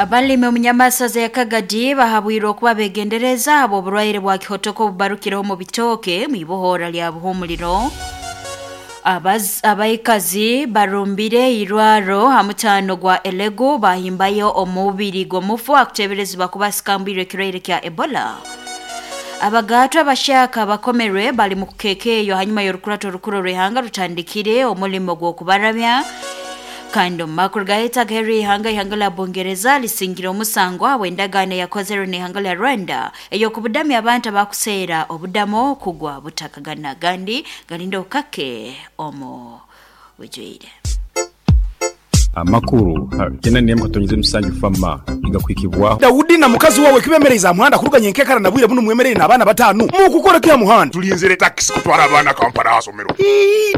Abalimi omunyamasaza ya Kagadi bahabwirwe okuba begendereza habw'oburwaire bwa kihotoko obubarukireho mu bitooke mu ibohora lya Buhumuliro. Abaikazi barumbire irwaro ha mutaano gwa Elegu bahimbayo omubiri gw'omufu akuteeberezibwa kuba asikambwirwe ekirwaire kya Ebola. Abagaatwa abashyaka bakomerwe bali mu kukekeeyo hanyuma y'orukurato orukuru orw'ihanga rutandikire omulimo gw'okubaramya. Kandi omu makuru gaheta agaheru ihanga lya Bungereza lisingire omusango habw'endagaano eyakozerwe n'ihanga lya Rwanda ey'okubudamya abantu abakuseera obudamo kugwa butakagana gandi galinda okake omu bujwire. Amakuru 94.7 Fama igakwikibwaho. Daudi na mukazi wawe kibemereza muhanda kuruganya enkekara na bwire buno mwemerere n'abaana batanu mukukora kya muhanda. Tulinzire taxi kutwara abaana Kampala asomero.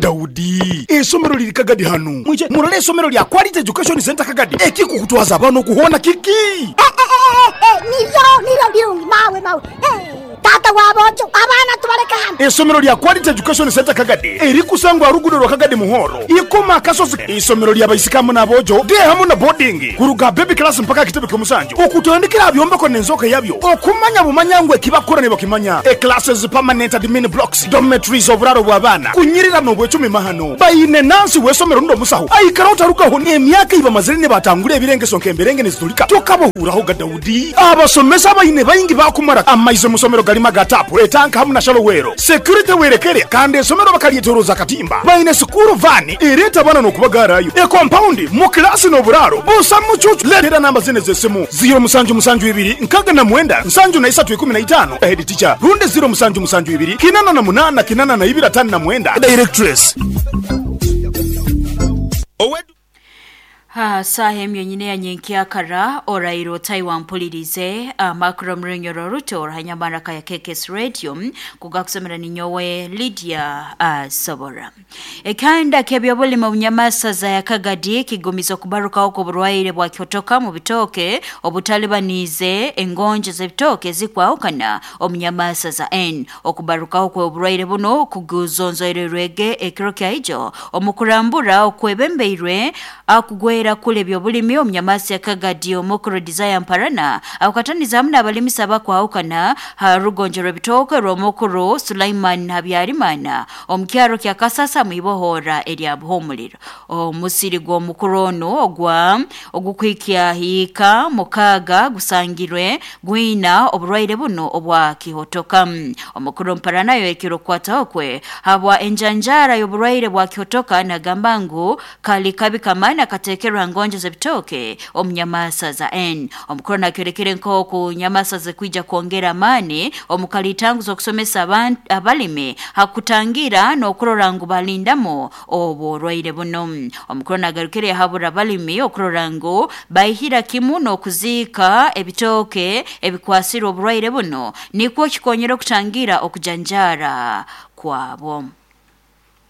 Daudi, esomero liri Kagadi hano. Mwije murole esomero lya Quality Education Center Kagadi. Ekikukutwaza abaana okuhona kiki? Niryo birungi mawe. Tata wabojo abaana tubaleka hano. Esomero lya Quality Education Center Kagadi erikusangwa rugudo rwa Kagadi Muhoro. Ikoma kasozi isomero lya baisikamu n'abojo de hamu na boarding kuruga baby class mpaka kitebe ky'omusanju. Okutandikira byombeko n'enzoka yabyo. Okumanya bumanyangwe kibakora ne bakimanya. E classes permanent admin blocks, dormitories oburaro bw'abaana. Kunyirira n'obwecumi mahano. Bayine nansi w'esomero ndo musaho. Aikara otarukaho n'emyaka ibamazire ne batangule ebirengeso nk'emberenge nezitulika. Tokabohuraho ga Daudi. Abasomesa bayine bayingi bakumara amaize musomero galima gatapu etanka hamu na shalowero. Security werekere kandi esomero bakalietoroza katimba. Bayine sukuru vani ereta bana n'okubagarayo. E compound mu klasi n'oburaro busa mucucu. Letera namba zine z'esimu 0 7 7 2 nkaga na mwenda nsanju na isatu ikumi na itano. Head teacher runde 0 7 7 2 kinana na munana kinana na ibira tano na mwenda. Directress. Saha emyo nyine ya nyenkyakara orairo Taiwan mpulirize amakuru murunyoro ruto orahanyamara ya KKS Radio kugakusomera ninyowe Lydia Sobora. Ekanda kebyobulimi omunyamasaza ya Kagadi kigumiza okubarukaho kw'oburwaire bwa kyotoka mu bitooke obutalibaniize engonjo z'ebitooke zikwahukana omunyamasaza N. Okubarukaho kw'oburwaire buno kuguzonzoirerwege ekiro kyaijo omukurambura okwebembeirwe akugwera kule byobulimi omunyamasi ya Kagadi omukuru Desire Mparana akataniza hamwe n'abalimisa bakwahukana ha rugonjo rw'ebitooke rw'omukuru Sulaiman Habyarimana omukyaro kya Kasasa mwibohora erya Buhumuliro. Omusiri gw'omukuru ono ogwa ogukwikya hiika mukaga gusangirwe gwina oburwaire buno obwa kihotoka. Omukuru Mparana yoyekire okukwataho kwe habwa enjanjara y'oburwaire bwa kihotoka nagamba ngu kali kabi kamana katekerwa ngonjo z'ebitooke omunyamasaza N. Omukuru nakyorekere nk'oku nyamasaza kwija kwongera amani omukalitangu z'okusomesa abalimi hakutangira n'okurora ngu balindamo oburwaire buno. Omukuru nagarukire habura abalimi okurora ngu baihira kimu n'okuziika ebitooke ebikwasire oburwaire buno nikwo kikonyera okutangira okujanjara kwabo.